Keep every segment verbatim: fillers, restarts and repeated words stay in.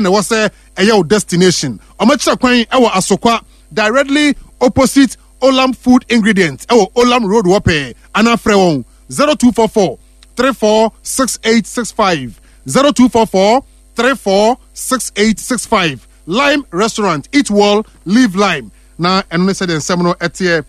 Ɛna ɛwɔ sɛ ɛyɛ wo destination. Ɔmɛkyerɛ kwan ɛwɔ Asokwa, directly opposite Olam Food Ingredient, ɛwɔ Olam Road wɔ pɛɛ, anaa frɛ wɔn zero two four four three four six eight six five, zero two four four three four six eight six five. Lime Restaurant, eat well, live lime. Na ɛno ne sɛdeɛ nsɛm no ɛteɛ.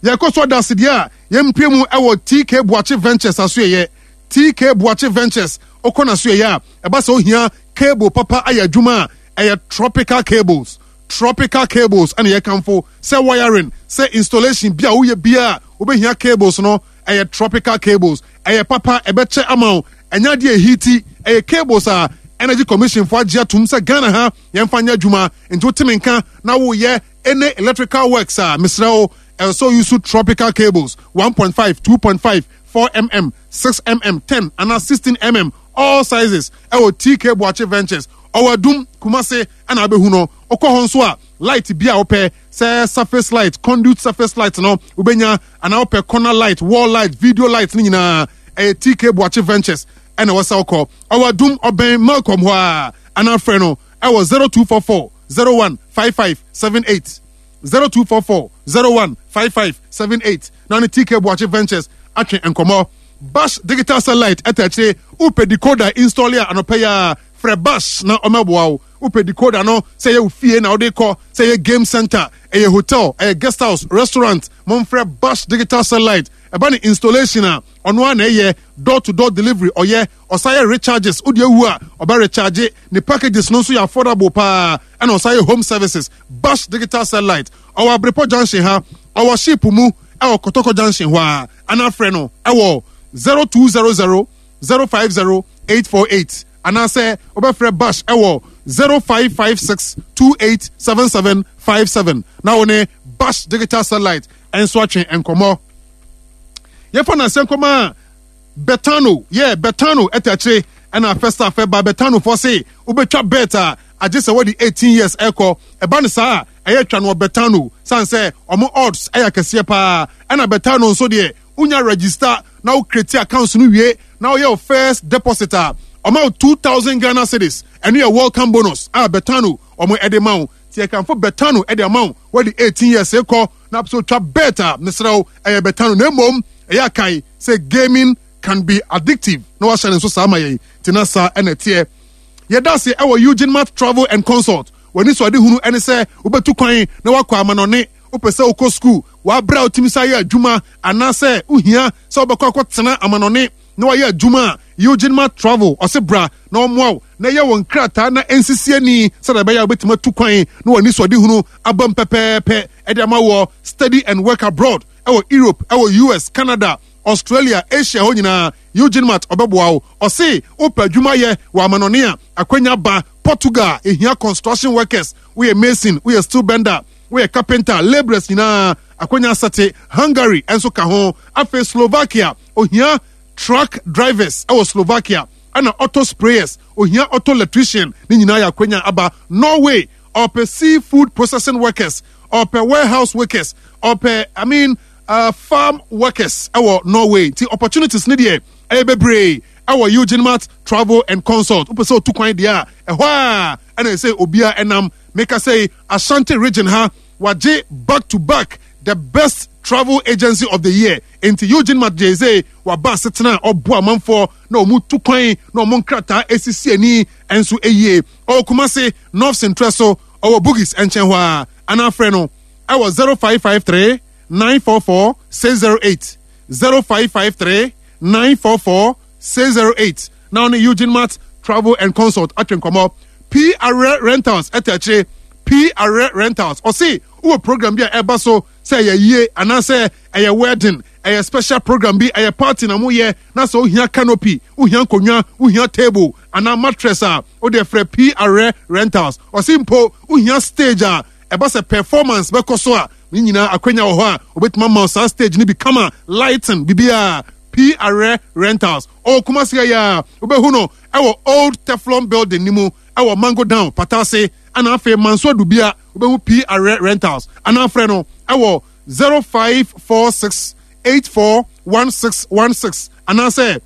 Yɛkɔ so ada asedeɛ a yɛmpie mu ɛwɔ T K Boakye Ventures aso. Yɛyɛ T K Boakye Ventures. Wokɔ n'aso yɛyɛ a, ɛba sɛ ohia cable papa ayɛ adwuma a, ɛyɛ Tropical Cables. Tropical Cables ɛna yɛkamfo sɛ wiring, sɛ installation bi a woyɛ bia a wobɛhia cables no, ɛyɛ Tropical Cables. Ɛyɛ papa, ɛbɛkyɛ ama wo, ɛnyɛ adeɛ ehiti. Ɛyɛ cables a Energy Commission fo agye atum sɛ Ghana ha yɛmfa nyɛ adwuma. Nti woteme nka na woyɛ any electrical works a, mesrɛ wo, ɛsɛ use Tropical Cables, one point five, two point five, four millimeters, six millimeters, ten anaa sixteen millimeters, all sizes, ɛwɔ T K Boakye Ventures. Ɔwɔ Adum, Kumase, ɛna abɛhu no. Wokɔ hɔ nso a, light bi a wopɛ, sɛ surface light, conduit surface light no wobɛnya, anaa wopɛ corner light, wall light, video light no nyinaa, ɛyɛ T K Boakye Ventures ɛna ɛwɔ sɛ wokɔ. Ɔwɔ Adum, ɔbɛn Malcolm hɔ a, anaa frɛ no ɛwɔ zero two four four zero one five five seven eight, zero two four four zero one five five seven eight, na ne T K Boakye Ventures atwe nkɔmmɔ. Bash Digital Satellite ɛta akyire. Wopɛ decoder install a, anɔpɛ yi a frɛ Bash na ɔmɛboa wo. Wopɛ decoder no, sɛ ɛyɛ wo fie na wode kɔ, sɛ ɛyɛ game center, ɛyɛ hotel, ɛyɛ guest house, restaurant, momfrɛ Bash Digital Satellite. Ɛba ne installation a, ɔno a na ɛyɛ door to door delivery. Ɔyɛ ɔsa yɛ recharges. Wode awu a, ɔbɛ recharge. Ne packages no nso yɛ affordable paa. Ɛna ɔsa yɛ home services. Bash Digital Satellite ɔwɔ Abrepɔ Junction ha, ɔwɔ ship mu ɛwɔ Kɔtɔkɔ Junction hɔ a, ana frɛ no ɛwɔ zero two zero zero zero five zero eight four eight, anaasɛ wobɛfrɛ Bash ɛwɔ zero five five six two eight seven seven five seven, na wo ne Bash Digital Satellite ɛnso atwe nkɔmmɔ. Yɛfa no asɛ nkɔmmɔ a Betano yɛ Betano ɛta akyire. Ɛna first half ɛba, Betano fɔ se wobɛtwa bet a, agye sɛ wɔde eighteen years ɛkɔ. Ɛba no saa a, ɛyɛ twa no wɔ Betano, san sɛ ɔmo odds ɛyɛ akɛseɛ paa. Ɛna Betano nso deɛ, wonya register na wo create account no wie na woyɛ wo first deposit a, ɔma wo two thousand Ghana cedis. Ɛno yɛ welcome bonus a Betano ɔmo ɛde ma wo. Ti ɛkanfo Betano ɛde ama wo. Wɔde eighteen years kɔ na so twa bet a, mesrɛ wo, ɛyɛ Betano. Na mmom ɛyɛ akae sɛ gaming can be addictive, na wahyɛ ne nso saa ma yɛn. Te na saa ɛna ɛteɛ. Yɛda ase ɛwɔ Eugene Mart Travel and Consult. W'ani so ade hunu ɛne sɛ wobɛtu kwan na wakɔ amanɔne. Wopɛ sɛ wokɔ school, w'abrɛ a wotumi sa yɛ adwuma, anaasɛ wohia sɛ wobɛkɔ akɔtena amanɔne na wayɛ adwuma a, Eugene Mart Travel ɔse bra na ɔmmoa wo na ɛyɛ wɔn nkrataa na ɛnsisi ani sɛdeɛ ɛbɛyɛ a wobɛtumi atu kwan na w'ani so ade hunu aba mu pɛpɛɛpɛ ɛde ama wɔ study and work abroad ɛwɔ Europe, ɛwɔ U S, Canada, Australia, Asia hɔ nyinaa. Eugene Mart ɔbɛboa wo. Ɔse wopɛ adwuma yɛ wɔ amanɔne a, akwanya ba. Portugal ehia construction workers. Woyɛ mason, woyɛ steel bender, woyɛ carpenter, labourers nyinaa, akwanya asɛte. Hungary nso ka ho. Afei Slovakia, ohia truck drivers ɛwɔ Slovakia, ɛna auto sprayers, ohia auto electrician. Ne nyinaa yɛ akwanya aba. Norway, ɔpɛ seafood processing workers, ɔpɛ warehouse workers, ɔpɛ, I mean, uh, farm workers ɛwɔ Norway. Nti opportunities ne deɛ ɛyɛ bebree ɛwɔ Eugene Mart Travel and Consult. Wopɛ sɛ otu kwan deɛ a, ɛhɔ a ɛna ɛsɛ obiara ɛnam. Meka sɛ Ashanti Region ha wagye back to back the best travel agency of the year. Nti Eugene Mart gye sɛ waba asetena a ɔboa amanfoɔ na wɔn tu kwan na wɔn nkrataa esisi ani nso eyie. Ɔwɔ Kumase, North Central so, ɔwɔ Bugis nkyɛn hɔ a, anaa frɛ no ɛwɔ zero five five three nine four four six zero eight, zero five five three nine four four six zero eight, na ɔne Eugene Mart Travel and Consult atwe nkɔmɔ. P R Rentals ɛtɛ akyire. P R Rentals ɔse wowɔ program bi a ɛba so, sɛ ɛyɛ yie anaasɛ ɛyɛ wedding, ɛyɛ special program bi, ɛyɛ party na moyɛ, na sɛ wohia canopy, wohia nkonnwa, wohia table anaa mattress a, wode frɛ P R Rentals. Ɔse mpo wohia stage a ɛba sɛ performance bɛkɔ so a, ne nyinaa akwanya wɔ hɔ a obɛtumi ama wo saa stage no bi kama, lighting, biribiaa. P R Rentals ɔwɔ Kumase yɛ a, wobɛhu no ɛwɔ old Teflon building ne mu ɛwɔ Mango Down Patase, ɛna afei Manso Adubia wobɛhu P R Rentals, anaa frɛ no ɛwɔ zero five four six eight four one six one six anaasɛ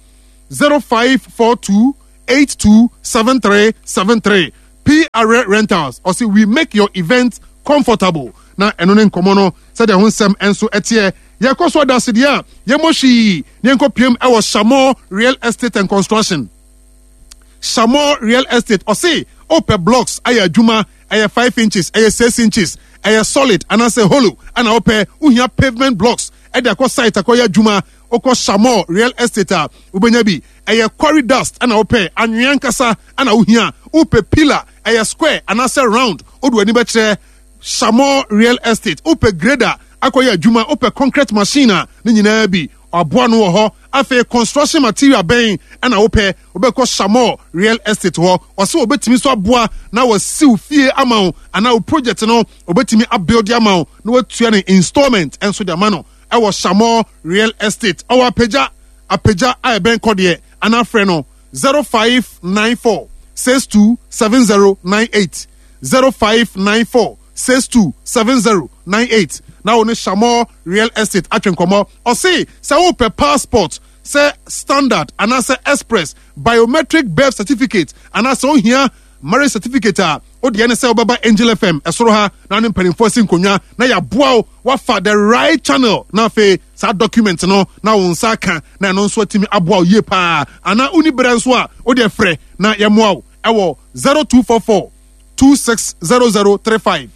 zero five four two eight two seven three seven three. P R Rentals ɔsi, "We make your event comfortable." Na ɛno ne nkɔmɔ no sɛdeɛ ho nsɛm nso ɛteɛ. Yɛkɔ so adasedeɛ a yɛmmɔ hwii ne yɛnkɔ piem ɛwɔ Shamor Real Estate and Construction. Shamor Real Estate ɔse wopɛ blocks ayɛ adwuma, ɛyɛ five inches, ɛyɛ six inches, ɛyɛ solid anaasɛ hollow, ɛna wopɛ wohia pavement blocks ɛde akɔ site akɔyɛ adwuma, wokɔ Shamor Real Estate a wobɛnya bi. Ɛyɛ quarry dust ɛna wopɛ, anwea nkasa ɛna wohia, wopɛ pillar, ɛyɛ square anaasɛ round, wode w'ani bɛkyerɛ Shamor Real Estate. Wopɛ grader akɔyɛ adwuma, wopɛ concrete machine a, ne nyinaa bi aboa no wɔ hɔ. Afei construction material bɛn ɛna wopɛ? Wobɛkɔ Shamor Real Estate hɔ. Ɔsɛ wɔbɛtumi so aboa na wɔsiw fie ama wo anaa wo project no wɔbɛtumi abuild ama wo na watua ne installment ɛnso de ama no. Ɛwɔ Shamor Real Estate, ɔwɔ Apagya, Apagya a ɛbɛn kɔdeɛ, anaa frɛ no zero five nine four six two seven zero nine eight, zero five nine four six two seven zero nine eight, na wo ne Shamor Real Estate atwe nkɔmmɔ. Ɔse sɛ wopɛ passport, sɛ standard anaasɛ express, biometric birth certificate anaasɛ wohia marriage certificate a, wodeɛ ne sɛ wobɛba Angel F M ɛsoro ha na ne mpanimfoɔ si nkonnwa na yɛaboa wo wafa the right channel, na afei saa document no na wo nsa aka, na ɛno nso atumi aboa wo yie paa. Anaa woni berɛ nso a, wodeɛ frɛ na yɛmmoa wo ɛwɔ zero two four four two six zero zero three five,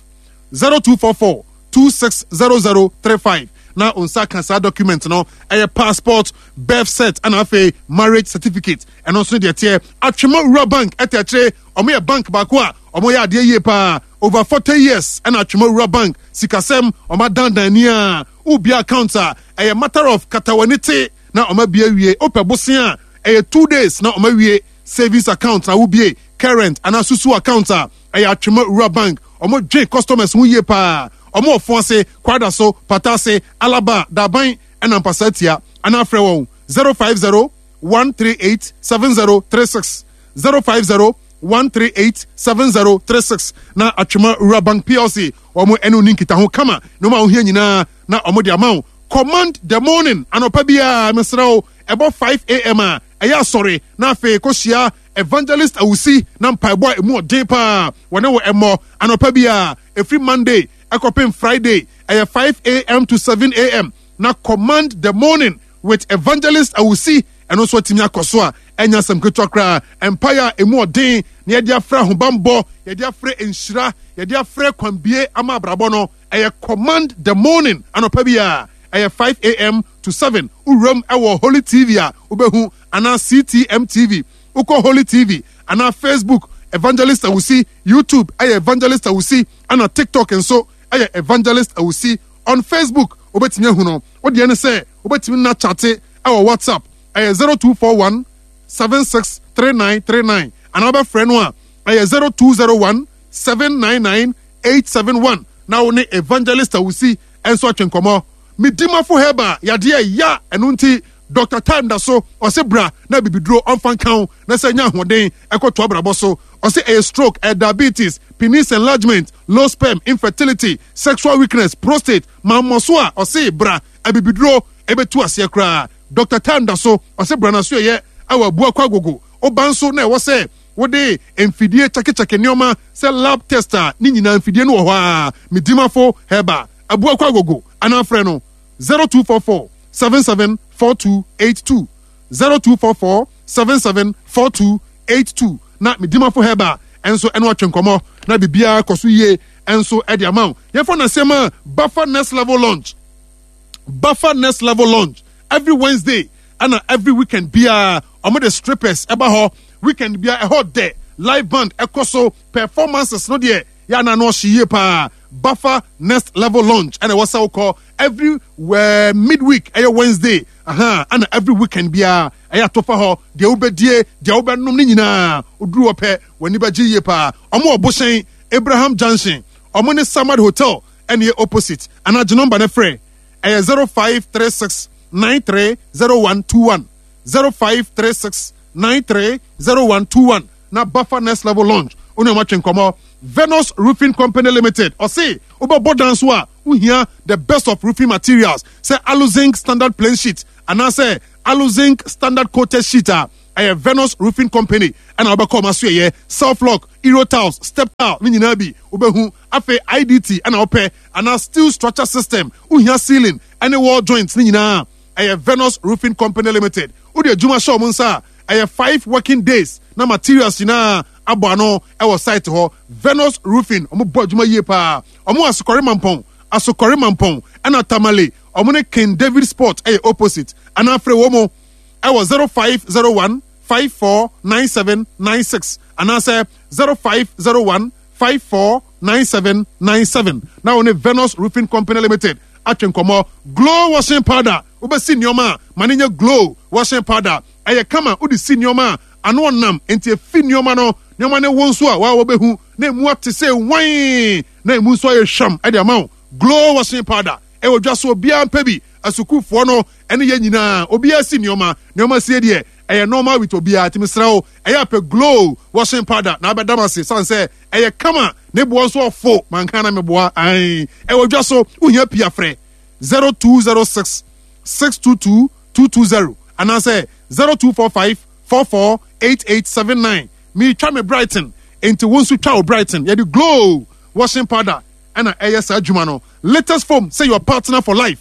zero two four four two six zero zero three five, na wo nsa ka saa document no, ɛyɛ passport, birth cert, ɛna afei marriage certificate. Ɛno nso deɛ teɛ Atwema Wura Bank ɛtɛ akyire. Ɔmo yɛ bank baako a ɔmo yɛ adeɛ yie paa. Over forty years ɛna Atwema Wura Bank sikasɛm ɔmo adandan ni a wobia account a, ɛyɛ matter of katawani te na ɔmo abie awie. Wopɛ bosia a, ɛyɛ two days na ɔmo awie. Savings account na wobie, current anaa susu account a, ɛyɛ Atwema Wura Bank. Ɔmo dwe customers ho yie paa. Ɔmo wɔ fo ase, Kwada so, Pata ase, Alaba, Daban ɛna Mpasa tia, anaa frɛ wɔn zero five zero one three eight seven zero three six, zero five zero one three eight seven zero three six, na Atwema Wura Bank P L C wɔn ɛne oni nkitaho kama na wɔn a wohia nyinaa na wɔn de ama wo. Command the morning anɔpa biara, mesrɛ wo, ɛbɔ five a m a, ɛyɛ asɔre na afei kɔhyia Evangelist Awusi na mpaebɔ a emu ɔden paa wɔne wɔ ɛmmɔ anɔpa biara ɛfiri Monday ɛkɔpem Friday. Ɛyɛ five a m to seven a m na Command the Morning with Evangelist Awusi ɛno nso atumi akɔ so a ɛnya asɛm ketewa koraa. Mpaeɛ a emu ɔden na yɛde afrɛ ahobammɔ, yɛde afrɛ nhyira, yɛde afrɛ kwambie ama abrabɔ no, ɛyɛ Command the Morning anɔpa biara, ɛyɛ five a m to seven. Wuram ɛwɔ Holy T V a wobɛhu anaa C T M T V. Wokɔ Holy T V anaa Facebook, Evangelist Awusi, YouTube ɛyɛ Evangelist Awusi, ɛna TikTok nso ɛyɛ Evangelist Awusi. On Facebook wobɛtumi ahu no. Wodeɛ ne sɛ wobɛtumi na chat ɛwɔ WhatsApp, ɛyɛ zero two four one seven six three nine three nine, anaa wobɛfrɛ no a, ɛyɛ zero two zero one seven nine nine eight seven one, na wo ne Evangelist Awusi ɛnso atwe nkɔmmɔ. Medimafo Herbal yadeɛ ya, ɛno nti Doctor Time da so ɔse bra na bibiduro ɔmfa nka wo na sɛ nya ahoɔden ɛkɔto abrabɔ so. Ɔse ɛyɛ stroke, ɛyɛ diabetes, penis enlargement, low sperm, infertility, sexual weakness, prostate mammɔ so a, ɔse bra, abibiduro ɛbɛtu aseɛ koraa. Doctor Time da so ɔse bra na so ɛyɛ ɛwɔ Abuakɔ Agogo. Woba nso na ɛwɔ sɛ wode mfidie kyɛkekyɛke nneɛma sɛ lab test a, ne nyinaa mfidie no wɔ hɔ a. Medimafo Herbal, Abuakɔ Agogo, anaa frɛ no zero two four four seven seven four two eight two, zero two four four seven seven four two eight two, na Medimafo Herbal ɛnso ɛno atwe nkɔmmɔ na biribiara kɔ so yie ɛnso ɛde ama wo. Yɛmfa nasɛm a Bafa Next Level Launch, Bafa Next Level Launch, every Wednesday ɛna every weekend biara ɔmo de strippers ɛba hɔ. Weekend biara ɛhɔ dɛ live band ɛkɔ so, performances no deɛ yɛ ana no ɔhye yie paa. Bafa Next Level Launch ɛna ɛwɔ sɛ wokɔ every uh, midweek, ɛyɛ Wednesday aha, ɛna every weekend biara ɛyɛ atɔfa hɔ. Deɛ wobɛdie, deɛ wobɛnom ne nyinaa, woduru hɔ pɛ w'ani bɛgye yie paa. Ɔmo wɔ Bohyɛn Abraham Junction, ɔmo ne Samad Hotel ɛne yɛ opposite, anaa gye number ne frɛ, ɛyɛ zero five three six nine three zero one two one, zero five three six nine three zero one two one, na Buffer Next Level Launch wone ɔmo atwe nkɔmmɔ. Venus Roofing Company Limited ɔse wobɛbɔ dan so a, wohia the best of roofing materials sɛ aluzinc standard plain sheet anaasɛ aluzinc standard coated sheet a, Ɛyɛ Venus Roofing Company ɛna wobɛkɔ ɔma so. Yɛyɛ self lock, euro tiles, step tile ne nyinaa bi wobɛhu. Afei I D T ɛna wopɛ anaa steel structure system, wohia ceiling ɛne wall joints ne nyinaa, ɛyɛ Venus Roofing Company Limited. Wode adwuma hyɛ ɔmo nsa a, ɛyɛ five working days na materials nyinaa abɔ ano ɛwɔ site hɔ. Venus Roofing, ɔmo bɔ adwuma yie paa. Ɔmo Asokɔre Mampɔn, Asokɔre Mampɔn ɛna Tamale, ɔmo ne King David Sport ɛyɛ opposite. Anaa frɛ wɔ mo ɛwɔ zero five zero one five four nine seven nine six anaasɛ zero five zero one five four nine seven nine seven na wɔne Venus Roofing Company Limited atwe nkɔmmɔ. Glow washing powder, wobɛsi nneɛma a, ma ne nyɛ Glow washing powder. Ɛyɛ kama, wode si nneɛma a, ano ɔnam nti efi nneɛma no, nneɛma no wo nso a waa wɔbɛhu na emu ate sɛ wan na emu nso ayɛ hwam ɛde ama wo. Glow washing powder ɛwɔ dwa so, obiara mpɛ bi. Asukuufoɔ no ɛne yɛn nyinaa, obiara si nneɛma, nneɛma sie deɛ, ɛyɛ normal with obiara. Tìmi srɛ wo, ɛyɛ apɛ Glow washing powder na abɛdam ase san sɛ ɛyɛ kama, ne boɔ nso ɔfo mankan na meboa ayi. Ɛwɔ dwa so, wohia pii afrɛ zero two zero six six two two two two zero anaasɛ zero two four five four four eight eight seven nine. Meetwa me Brighton nti wo nso twa wo Brighton. Yɛde Glow washing powder ɛna ɛyɛ saa adwuma no. Latest Foam sɛ your partner for life.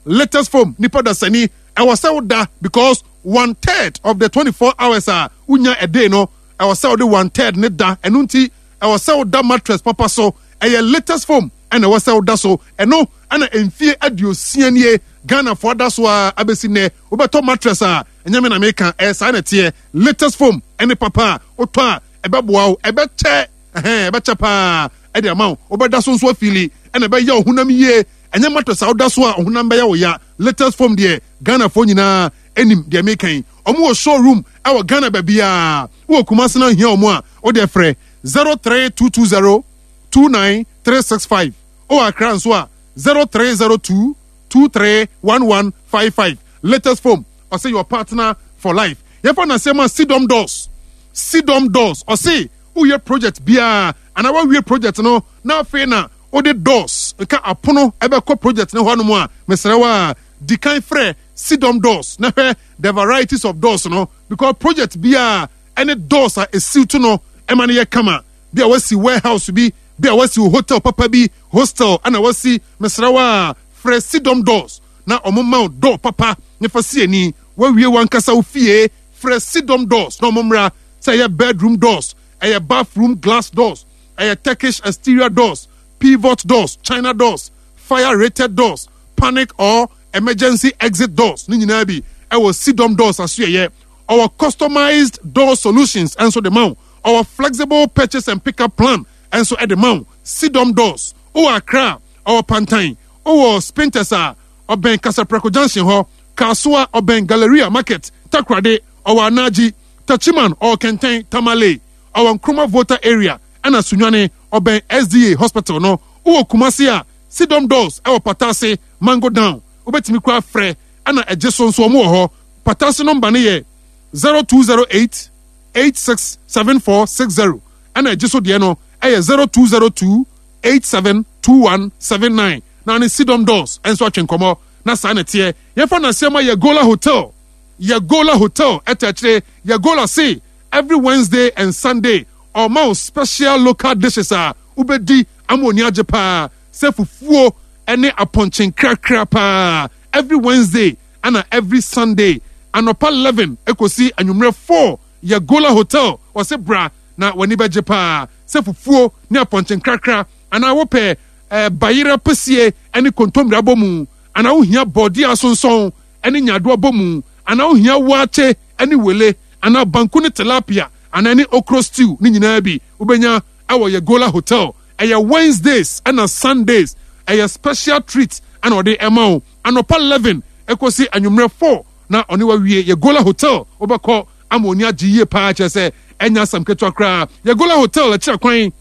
Latest Foam, nipa dasani ɛwɔ sɛ woda because one third of the twenty four hours a wonya a day no, ɛwɔ sɛ wode one third ne da. Ɛno nti ɛwɔ sɛ woda mattress papa so. Ɛyɛ Latest Foam ɛna ɛwɔ sɛ woda so. Ɛno ɛna mfie aduosia nie Ghanafoɔ da so a abɛsi nnɛ. Wobɛtɔ mattress a, ɛnyɛ me na meka, ɛyɛ saa na ɛteɛ. Latest Foam ɛne papa a wotɔ a ɛbɛboa wo, ɛbɛkyɛ, ɛhɛn, ɛbɛkyɛ paa ɛde ama wo. Wobɛda so nso afili ɛna ɛbɛyɛ wo honam yie. Ɛnyɛ mattress a woda so a ɔhonam bɛyɛ wo ya. Latest Foam deɛ, Ghanafoɔ nyinaa anim deɛ meka yi. Ɔmo wɔ showroom ɛwɔ Ghana baabiaa. Wowɔ Kumase no ahia ɔmo a, wode frɛ zero three two two zero two nine three six five. Wowɔ Accra nso a, zero three zero two two three one one five five. Latest Foam, ɔsɛ your partner for life. Yɛfa nasɛm a Sidom Doors. Sidom Doors ɔse woyɛ project biara anaa wawie project no na afei na wode doors nka apono ɛbɛkɔ project no hɔnom a, mesrɛ wo a, di kan frɛ Sidom Doors na hwɛ the varieties of doors no, because project biara ɛne doors a esiw to no ɛma no yɛ kama. Bi a wasi warehouse bi, bi a wasi hotel papa bi, hostel ɛna wasi, mesrɛ wo a, frɛ Sidom Doors na ɔmo ma wo door papa ne fa si ani. Wawie wankasa wo fie, frɛ Sidom Doors na ɔmo mmra. Sɛ ɛyɛ bedroom doors, ɛyɛ bathroom glass doors, ɛyɛ Turkish exterior doors, pivot doors, china doors, fire rated doors, panic or emergency exit doors ne nyinaa bi ɛwɔ Sidom Doors asoɛyɛ. Ɔwɔ customized door solutions ɛnso de ma wo. Ɔwɔ flexible purchase and pick up plan ɛnso ɛde ma wo. Sidom Doors ɔwɔ Accra, ɔwɔ Pantan, ɔwɔ Spintex a ɔbɛn Kasaprɛko Junction hɔ, Kasoa ɔbɛn Galleria Market, Takoradi ɔwɔ Anaji, Tachiman ɔwɔ Kɛntɛn, Tamale ɔwɔ Nkroma Volta area, ɛna Sunyani ɔbɛn S D A Hospital no. Wowɔ Kumase a, Sidom Doors ɛwɔ Patase Mango Down. Wobɛtumi kora frɛ ɛna ɛgye so nso ɔmo wɔ hɔ. Patase number no yɛ zero two zero eight eight six seven four six zero, ɛna ɛgye so deɛ no ɛyɛ zero two zero two eight seven two one seven nine. Na ne Sidom Doors ɛnso atwe nkɔmɔ na saa na ɛteɛ. Yɛfa n'asɛm a Yɛgola Hotel. Yɛgola Hotel ɛtɛ akyire. Yɛgola se every Wednesday and Sunday ɔma wo special local dishes a wobɛdi ama oni agye paa sɛ fufuo ɛne apɔnkye nkrakra paa. Every Wednesday ɛna every Sunday, anɔpa eleven ekosi anwummerɛ four, Yɛgola Hotel wɔse bra na w'ani bɛgye paa sɛ fufuo ne apɔnkye nkrakra, anaa wopɛ ɛɛ bayerɛ pɛsie ɛne kontomire abɔ mu, anaa wohia bɔɔdeɛ asonsɔn ɛne nyaadoa bɔ mu, anaa wohia waakye ɛne wele, anaa banku ne tilapia, anaa ne okro stew ne nyinaa bi wobɛnya ɛwɔ Yɛgola Hotel. Ɛyɛ Wednesdays ɛna Sundays, ɛyɛ special treat ɛna ɔde ɛma wo anɔpa eleven ɛkɔsi anwummerɛ four na ɔne wawie. Yɛgola Hotel, wobɛkɔ ama oni agye yie paa, kyerɛ sɛ ɛnya asɛm ketewa koraa. Yɛgola Hotel ɛkyerɛ kwan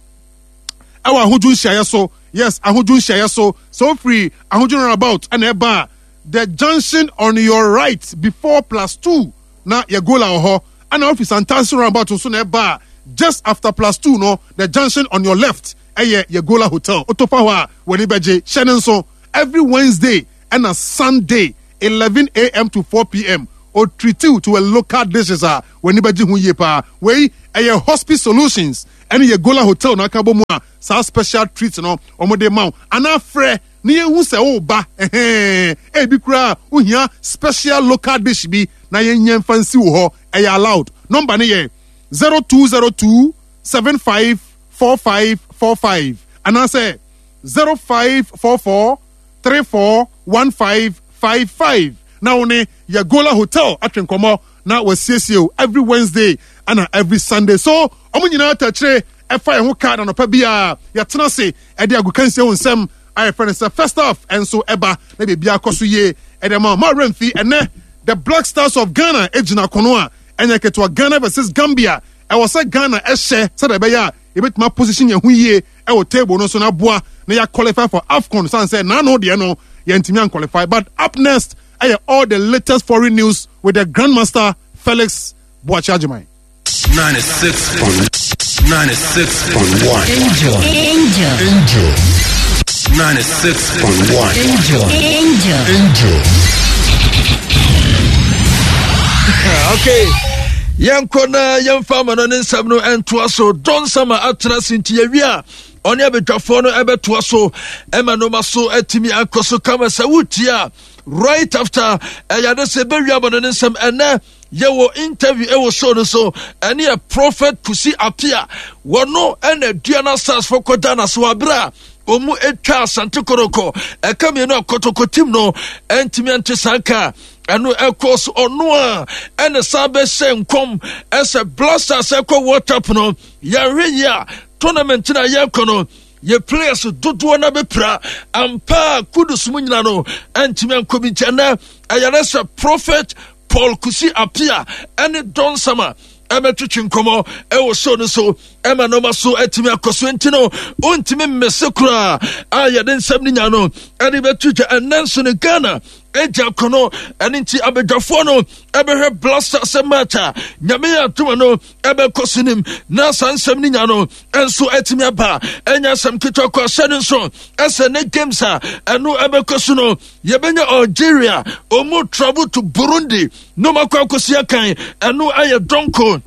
ɛwɔ Ahodwo nhyiaeɛ so. Yes, Ahodwo nhyiaeɛ so. Sɛ wofiri Ahodwo roundabout ɛna ɛba a, the junction on your right before plus two na Yɛgola wɔ hɔ. Ɛna wofiri Santase roundabout nso na ɛba a, just after plus two no, the junction on your left ɛyɛ Yɛgola Hotel. Wotofa hɔ a, w'ani bɛgye. Hyɛ ne nso, every Wednesday ɛna Sunday, eleven a m to four p m. Ɔtreat you to a local dishes a w'ani bɛgye ho yie paa. Wei ɛyɛ Hospice Solutions ɛne yɛ Gola Hotel na aka bɔ mu a saa special treat no wɔde ma wo. Anaa frɛ ne yɛnhu sɛ woba ɛhɛn, ebi koraa wohia special local dish bi na yɛnyɛ mfa nsi wo hɔ, ɛyɛ allowed. Number no yɛ zero two zero two seven five four five four five anaasɛ zero five four four three four one five five five na wo ne Yagola Hotel atwe nkɔmmɔ na wasiesie o every Wednesday ana every Sunday. So ɔmo nyinaa tɛkyerɛ ɛfa yɛn ho ka na nɔpa bi a yɛtena ase ɛde agokansie ho nsɛm a yɛfrɛ no sɛ First Half ɛnso ɛba na biribi akɔ so yie ɛde ma ma remfi. Ɛnɛ the Black Stars of Ghana egyina kono a ɛnyɛ ketewa, Ghana versus Gambia. Ɛwɔ sɛ Ghana ɛhyɛ sɛdeɛ ɛbɛyɛ a yɛbɛtumi position yɛn ho yie ɛwɔ table no so na aboa na yɛ qualify for AFCON, san sɛ n'ano deɛ no yɛntumi anqualify. But up next ɛyɛ all the latest foreign news with the Grandmaster Felix Boakye Agyeman. ninety-six point ninety-six point one. Angel. Angel. Angel. ninety-six point one. Angel. Angel. Angel. Okay, yɛnkɔ na yɛmfa ama no ne nsɛm no ɛntoa so. Don Sama atena se nti yɛwie a ɔne abadwafoɔ no ɛbɛtoa so ɛma noma so atumi akɔ so kama. Sɛ wotie a, right after ɛyɛ ade sɛ ɛbɛwie ama no ne nsɛm, ɛnɛ yɛwɔ interview ɛwɔ show no so, ɛne yɛ Prophet Kusi Apia. Wɔno ɛna Aduana Stars fo kɔda na so aberɛ a ɔmu atwa Asante Kɔtɔkɔ ɛka mmienu a Kɔtɔkɔ team no ɛntumi ante saa nka ɛno ɛkɔ so. Ɔno a ɛne san bɛhyɛ nkɔm ɛsɛ Black Stars ɛkɔ World Cup no, yɛhwɛ yi a tournament no a yɛrekɔ no, yɛ players dodoɔ no bɛpira ampa a Kudus mu nyina no ɛntumi ankɔ bi. Nkyɛn nɛ ɛyɛrɛ sɛ Prophet Paul Kusi Apia ɛne Don Sama ɛbɛtwetwe nkɔmmɔ ɛwɔ show no so ɛma nɔɔma so atumi akɔ so. Nti no wontumi mmese koraa a yɛde nsɛm no nya no ɛde bɛto dwa. Ɛnɛ nso no Ghana agya akɔnɔ, ɛne nti abadwafoɔ no ɛbɛhwɛ Black Stars sɛ match a Nyame yɛ adoma no ɛbɛkɔ so nim na saa nsɛm no nya no ɛnso atumi aba. Ɛnya asɛm ketewa kɔ ahyɛ no nso ɛsɛ ne games a ɛno ɛbɛkɔ so no, yɛbɛnya Algeria ɔmu travel to Burundi na ɔmakɔ akɔsi akan, ɛno ɛyɛ dɔnko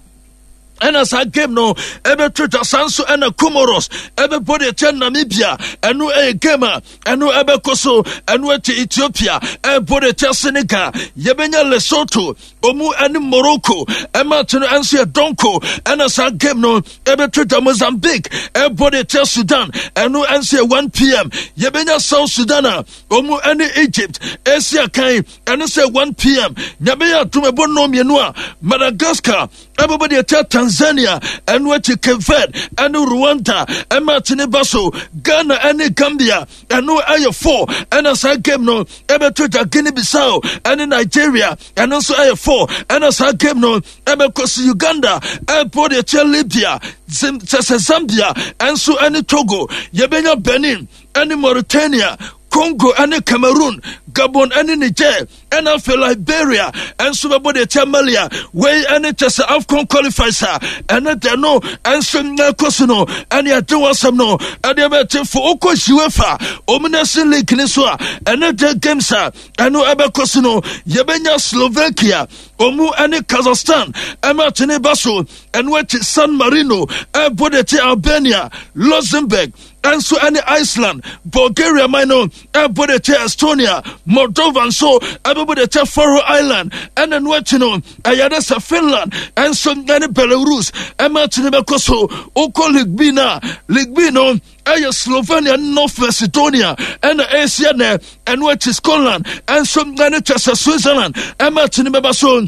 ɛna saa game no ɛbɛto dwa. Saa nso ɛna Comoros ɛbɛbɔ deɛ kyɛ Namibia, ɛno ɛyɛ game a ɛno ɛbɛkɔ so. Ɛno akyi Ethiopia ɛbɔ deɛ kyɛ Senegal. Yɛbɛnya Lesotho ɔmu ɛne Morocco ɛma no ɛnso yɛ dɔnko ɛna saa game no ɛbɛto dwa. Mozambique ɛbɔ deɛ kyɛ Sudan, ɛno ɛnso yɛ one p m. Yɛbɛnya South Sudan a ɔmu ɛne Egypt ɛsi akan, ɛno sɛ one p m. Nyame yɛ atom ɛbɔ nnɔn mmienu a Madagascar ɛbɛbɔ deɛ kyɛ Tanzania. Ɛno akyi Cape Verde ɛne Rwanda ɛma ne ba so. Ghana ɛne Gambia, ɛno ɛyɛ four ɛna saa game no ɛbɛto dwa. Guinea Bissau ɛne Nigeria, ɛno nso ɛyɛ four ɛna saa game no ɛbɛkɔ so. Uganda ɛbɔ deɛ kyɛ Libya, kyɛ sɛ Zambia ɛnso ɛne Togo. Yɛbɛnya Benin ɛne Mauritania, Congo ɛne Cameroon, Gabon ɛne Niger, ɛna afei Liberia ɛnso bɛbɔ deɛ kyɛ Mali. A wei ɛne kyɛ sɛ AFCON qualifiers a ɛne deɛ no ɛnso ɛkɔ so no ɛne ɛde wɔ asɛm no ɛde bɛte fo. Wokɔ UEFA ɔmu Nation League ne so a, ɛne deɛ games a ɛno ɛbɛkɔ so no, yɛbɛnya Slovakia ɔmu ɛne Kazakhstan ɛma atene ba so. Ɛno akyi San Marino ɛbɔ deɛ kyɛ Albania, Luxembourg ɛnso ɛne Iceland, Bulgaria man no ɛbɔ de kyɛ Estonia, Moldova nso ɛbɛbɔ de kyɛ Faroe Island. Ɛna no akyi no ɛyɛ de sɛ Finland ɛnso ɛne Belarus ɛma akyi no bɛkɔ so. Wokɔ League B no a, League B no ɛyɛ Slovenia ne North Macedonia ɛna ɛsia nɛ. Ɛno akyi Scotland ɛnso ɛne kyɛ sɛ Switzerland ɛma akyi no bɛba so.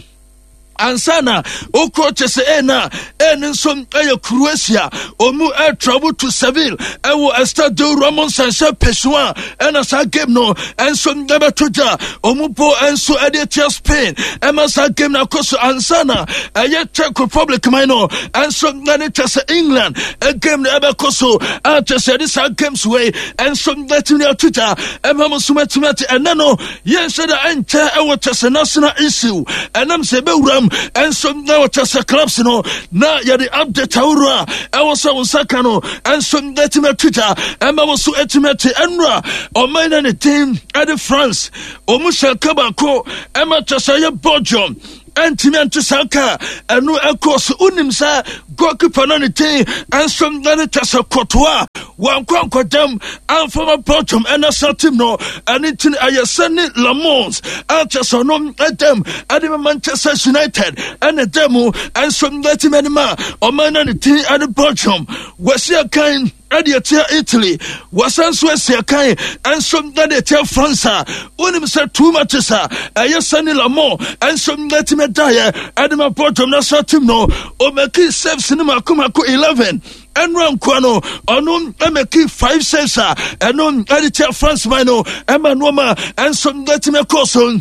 Ansa na wokɔ kyɛ sɛ ɛna ɛne nso ɛyɛ Croatia ɔmu ɛtravel to Seville ɛwɔ Estadio Ramon Sanchez Pizjuan ɛna saa game no ɛnso ɛbɛto gya. Ɔmu bo ɛnso ɛde atia Spain ɛma saa game no akɔ so. Ansa na ɛyɛ Czech Republic man no ɛnso ɛne kyɛ sɛ England game no ɛbɛkɔ so a kyɛ sɛ ɛde saa games wei ɛnso ɛtumi ato gya ɛma mo nso matumi ate. Ɛnɛ no yɛnhyɛ da ɛnkyɛ ɛwɔ kyɛ sɛ national issue ɛnam sɛ ɛbɛwuram Ɛnso na wɔkyɛ sɛ clubs no na yɛde update ahorow a ɛwɔ sɛ wo nsa ka no ɛnso ɛtumi ato gya ɛma wo so ɛtumi ate. Ɛnora ɔman no ne din ɛde France, ɔmu hyɛ ka baako ɛma kyɛ sɛ ɛyɛ Belgium ɛntumi ɛnte saa ka. Ɛno ɛkɔ so. Wonim sɛ goalkeeper no ne din ɛnso ɛne kyɛ sɛ Courtois wankɔ ankɔdam amfama Belgium ɛna sa team no. Ɛne nti ɛyɛ sɛ ne Lammens akyɛ sɛ ɔno ɛdam ɛde ma Manchester United ɛna ɛda mu ɛnso ɛtumi anim a ɔman no ne din ɛne Belgium wɔasi akan ɛde ɛtia Italy, wɔsan so asi akan ɛnso ɛde ɛtia France. A wonim sɛ two matches a ɛyɛ Senne Lammens ɛnso ɛtumi daeɛ ɛde ma Belgium national team no, ɔmake saves no mako mako eleven. Ɛnora nkoa no, ɔno ɛmake five saves a ɛno ɛde tia France man no ɛma nneɛma ɛnso ɛtumi kɔɔ so.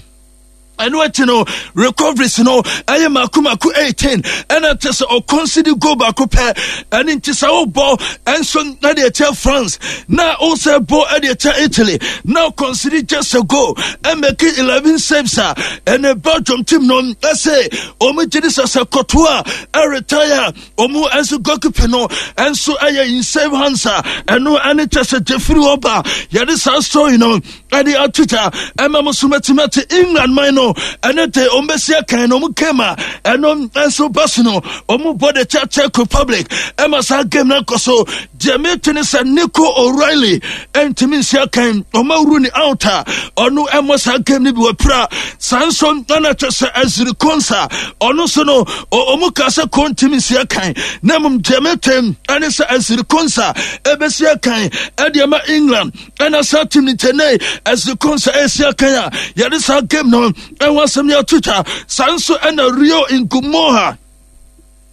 Ɛno akyi no, recoveries no ɛyɛ mako mako eighteen, ɛna kyɛ sɛ ɔconcede goal baako pɛ. Ɛne nti sɛ wobɔ ɛnso ɛde ɛkyɛ France na wosɛ bɔ ɛde ɛkyɛ Italy na ɔconcede just a goal, ɛmake eleven saves a ɛne Belgium team no ɛsɛ ɔmo gye de sɛ sɛ Courtois ɛretire, ɔmo ɛnso goalkeeper no ɛnso ɛyɛ in safe hands a ɛno ɛne kyɛ sɛ Jeffrey ɔba yɛde saa story no ɛde ato gya ɛma mo so mɛtumi ate. England man no ɛne de ɔmo bɛsi akan na ɔmo game a ɛno nso ba so no, ɔmo bɔ de kyɛ Czech Republic ɛma saa game no akɔ so. Deɛ mete ne sɛ Nico O'Reilly ɛntumi nsi akan, ɔmo awuru ne out a ɔno ɛmmɔ saa game no bi wɔ pira. Saa nso ɛna kyɛ sɛ Ezri Konsa, ɔno nso no ɔmo ka sɛ kɔntumi nsi akan, na mmom deɛ mete ɛne sɛ Ezri Konsa ɛbɛsi akan ɛde ɛma England ɛna saa team no. Nkyɛnɛ Ezri Konsa ɛsi akan a yɛde saa game no ɛho asɛm no ato twa. Saa nso ɛna Rio Ngumoha,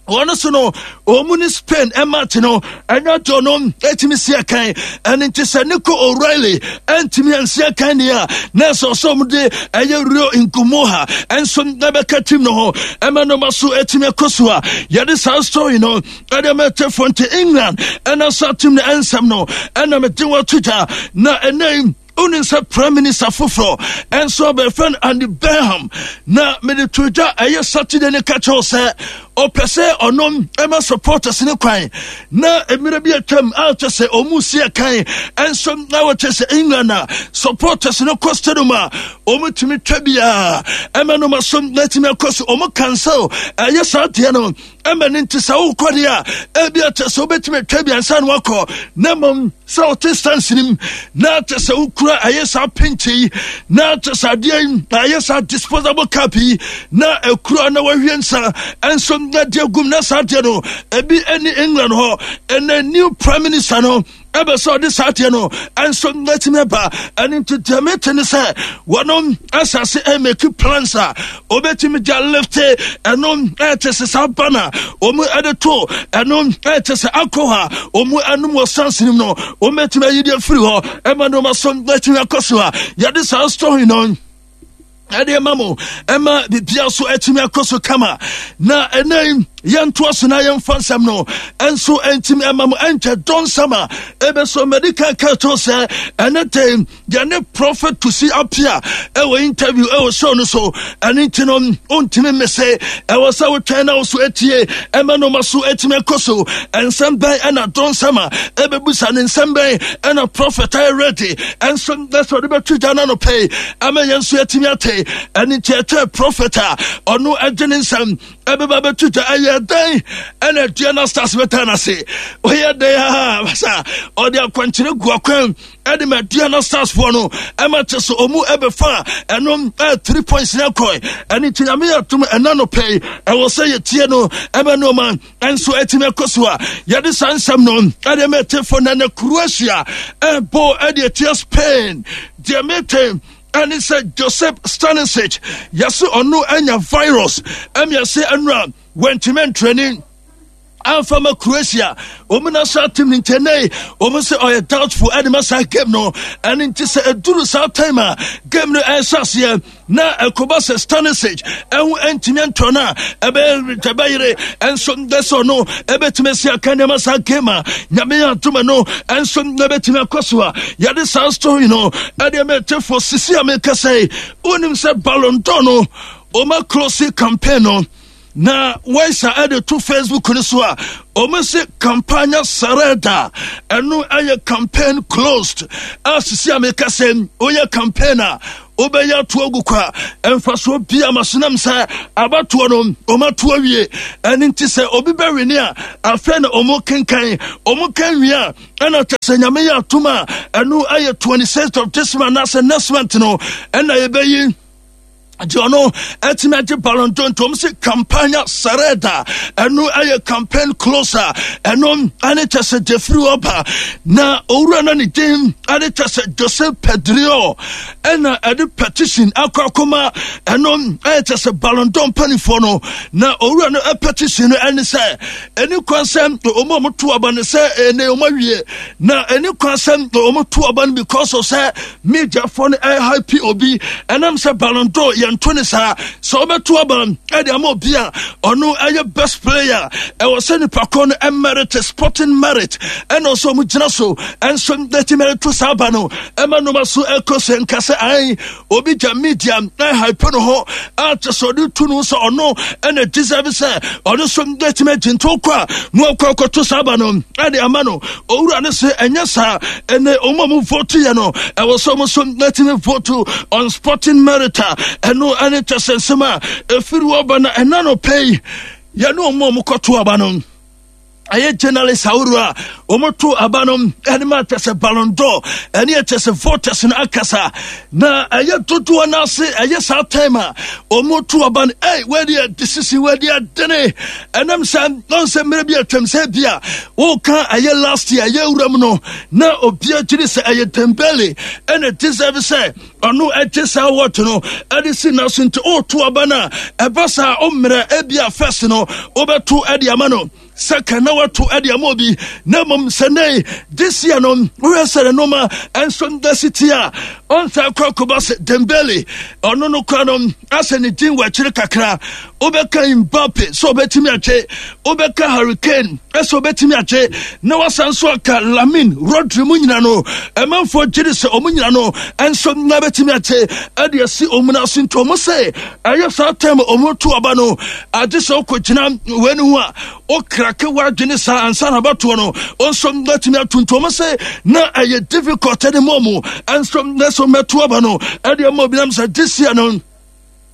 wɔn nso no wɔn ne Spain match no ɛnyɛ dɔ no ɛtumi si akan. Ɛne nti sɛ Nico O'Reilly ɛntumi ansi akan deɛ a, na ɛsɛ ɔsɛ wɔn de ɛyɛ Rio Ngumoha ɛnso ɛbɛka team no ho ɛma nneɛma so ɛtumi ɛkɔ so a yɛde saa story no ɛde ɛma ɛtɛfo. Nti England ɛna saa team no ɛnsɛm no ɛna mede wɔn ato gya. Na ɛnɛ wonim sɛ prime minister foforɔ ɛnso abɛfrɛ no Andy Burnham, na mede to dwa ɛyɛ Saturday ne ka kyerɛw sɛ ɔpɛ sɛ ɔno ɛma supporters ne kwan na mmerɛ bi atwam a kyɛ sɛ ɔmu si ɛkan ɛnso na wɔkyɛ sɛ England a supporters no kɔ stadium a ɔmu tumi twa biara ɛma no ma so na atumi akɔ so. Ɔmu cancel ɛyɛ saa deɛ no ɛma ne nti sɛ wokɔ deɛ a, ebi akyɛ sɛ wobɛtumi atwa bi ansa na wakɔ, na mmom sɛ wote stance nim na kyɛ sɛ wokura ɛyɛ saa penkye yi na kyɛ sɛ adeɛ yi ɛyɛ saa disposable cup yi na ekura na wahwie nsa ɛnso na deɛ gum na saa deɛ no ebi ɛne England hɔ. Ɛnɛ new prime minister no ɛbɛ sɛ ɔde saa deɛ no ɛnso n'atumi aba. Ɛne nti deɛ mete ne sɛ wɔnom asase ɛmake plans a obɛtumi gya lift ɛno ɛkyɛ sɛ saa ba na ɔmu ɛde to ɛno ɛkyɛ sɛ alcohol a ɔmu ɛnom wɔ stance nim no, ɔmu bɛtumi ayi deɛ firi hɔ ɛma nneɛma so n'atumi akɔ so a yɛde saa story no ɛde ma mo ɛma bibia so atumi akɔ so kama. Na ɛnɛ yɛntoa so na yɛmfa nsɛm no ɛnso ɛntimi ɛma mo. Ɛnkyɛ dɔnsɛm a ɛbɛsɔ medical ka to sɛ ɛne de yɛne Prophet Kusi Apia ɛwɔ interview ɛwɔ show no so. Ɛne nti no wontumi mmese, ɛwɔ sɛ wotwɛn na wo so atie ɛma noma so atumi akɔ so. Ɛnsɛm bɛn ɛna dɔnsɛm a ɛbɛbusa ne nsɛm bɛn ɛna prophet ayɛ ready ɛnso ɛsɛ ɔde bɛto gya no anɔpɛ ama yɛn nso yɛatumi ate. Ɛne nti ɛtwɛ prophet a ɔno ɛgye ne nsɛm ɛbɛba bɛto gya. Ɛyɛ dɛn ɛna Aduana Stars bɛta no ase? Ɔyɛ dɛn a basa ɔde akwankyerɛ gu akwan ɛde ma Aduana Stars foɔ no ɛma kyɛ sɛ ɔmu ɛbɛfa ɛno ɛyɛ three points ne akɔe. Ɛne nti Nyame yɛ atom ɛna no pɛi ɛwɔ sɛ yɛtie no ɛbɛ nneɛma ɛnso ɛtumi ɛkɔ so a yɛde saa nsɛm no ɛde ma ɛtefo. Na ne Croatia ɛbɔ ɛde ɛtia Spain. Deɛ mete ɛne sɛ Joseph Stanisic, yɛse ɔno anya virus ɛmi ɛsɛ ɛnura wɔntumi ntraining amfa ma Croatia ɔmu national team no. Nkyɛnɛ ɔmu sɛ ɔyɛ doubtful ɛde ma saa game no. Ɛne nti sɛ ɛduru saa time a game no ɛhyɛ aseɛ na ɛkɔba sɛ Stanisic ɛho ɛntumi ntɔ no a, ɛbɛyɛ ɛbɛyere ɛnso ndɛ sɛ ɔno ɛbɛtumi asi aka nneɛma saa game a Nyame yɛ adoma no ɛnso ɛbɛtumi akɔ so a yɛde saa story no ɛde mɛtɛfo sisi a meka sɛ wonim sɛ Ballon d'Or no ɔma close campaign no. Na wɔisa ɛde to Facebook no so a, ɔmo se campaña cerrada, ɛno ɛyɛ campaign closed a sisi a meka sɛ woyɛ campaign a wobɛyɛ ato agu kwa, ɛmfasoɔ bia ma so nam sɛ abatoɔ no ɔmato awie. Ɛno nti sɛ obi bɛwene a, afei na ɔmo kenkan, ɔmo kan wie a, ɛna kyɛ sɛ Nyame yɛ atom a, ɛno ɛyɛ twenty-sixth of this month anaasɛ next month no ɛna yɛbɛyi deɛ ɔno ɛtumi agye Ballon d'Or. Nti ɔmo sɛ campaña cerrada, ɛno ɛyɛ campaign closer. Ɛno ɛne kyɛ sɛ jeffrey ɔba na owura no ne din ɛne kyɛ sɛ Joseph Pedrio ɛna ɛde petition akɔ akɔma, ɛno ɛyɛ kyɛ sɛ Ballon d'Or mpanimfoɔ no. Na owura no petition no ɛne sɛ ɛni kwan sɛ ɔmo a ɔmo to aba no sɛ ɛnɛ ɔmo awie na ɛni kwan sɛ ɔmo to aba no because of sɛ mediafoɔ no ɛhype obi. Ɛnam sɛ Ballon d'Or yɛnto ne saa sɛ ɔbɛto aba ɛde ama obi a ɔno ɛyɛ best player, ɛwɔ sɛ nipa kɔ no ɛmerit, sporting merit, ɛna ɔsɛ ɔmo gyina so ɛnso ɛtumi ɛto saa aba no ɛma nnoma so ɛkɔ sɛ nka sɛ ayi obi gya media ɛhype no hɔ a kyɛ sɛ ɔde tu no sɛ ɔno ɛna deserve sɛ ɔno nso ɛtumi agye nto kɔ a na ɔkɔ akɔto saa aba no ɛde ama no. Owura no sɛ ɛnyɛ saa, ɛnɛ ɔmo a mo vote yɛ no, ɛwɔ sɛ ɔmo nso ɛtumi vote on sporting merit a ɛno ɛne kyɛ sɛ nsɛm a ɛfiri wɔ ba. Na ɛna no pɛ yi, yɛne ɔmo a ɔmo kɔto aba no, ɛyɛ journalist ahorow a wɔto aba no ɛne ma kyɛ sɛ Ballon d'Or ɛne ɛkyɛ sɛ voters no akasa na ɛyɛ dodoɔ no ase. Ɛyɛ saa time a wɔto aba no, ɛy wɔadi decision, wɔadi adene. Ɛnam sɛ ɔn sɛ mmerɛ bi atwam sɛ bi a wɔka ɛyɛ last year ɛyɛ wura mu no na obiara gyiri sɛ ɛyɛ Dembele ɛna deserve sɛ ɔno ɛgye saa award no ɛde si na so. Nti ɔreto aba no a, ɛba saa ɔmmerɛ ebi a first no wobɛto ɛde ama no, second na wato ɛde ama obi, na mmom sɛ ne this year no wohwɛ sɛ ne noma ɛnso da si ti a ɔnsa kɔ akɔba sɛ Dembele ɔno no kora no asɛ ne din wɔ akyire kakra. Wobɛka Mbappe sɛ ɔbɛtumi agye, wobɛka Harry Kane ɛsɛ ɔbɛtumi agye, na wasan so aka Lamine, Rodri mu nyina no, ɛmanfoɔ gyere sɛ ɔmo nyina no ɛnso na bɛtumi agye ɛde asi ɔmo no ase. Nti ɔmo sɛ ɛyɛ saa time ɔmo to aba no, agye sɛ wokɔgyina wei no ho a wokrake w'adwene saa ansa na abatoɔ no ɔnso bɛtumi ato. Nti ɔmo sɛ na ɛyɛ difficult ɛde ma ɔmo ɛnso na sɛ ɔmɛto aba no ɛde ama obi nam sɛ this year no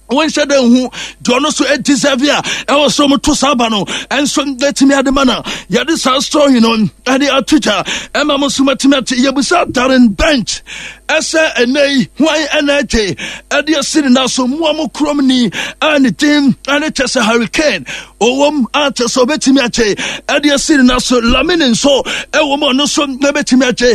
wɔnhyɛ dɛ nhu deɛ ɔno nso deserve a ɛwɔ sɛ ɔmo to saa ba no ɛnso bɛtumi ade ma. Na yɛde saa story no ɛde ato gya ɛma mo nso matumi ate. Yɛbusa Darren Bent ɛsɛ ɛnɛ yi hwan ɛna agye ɛde asi ne nan so mmoa mo kurom ni a ne din ɛne kyɛ sɛ Harry Kane ɔwɔm a kyɛ sɛ ɔbɛtumi agye ɛde asi ne nan so, Lamine nso ɛwɔ mu, ɔno nso ɛbɛtumi agye.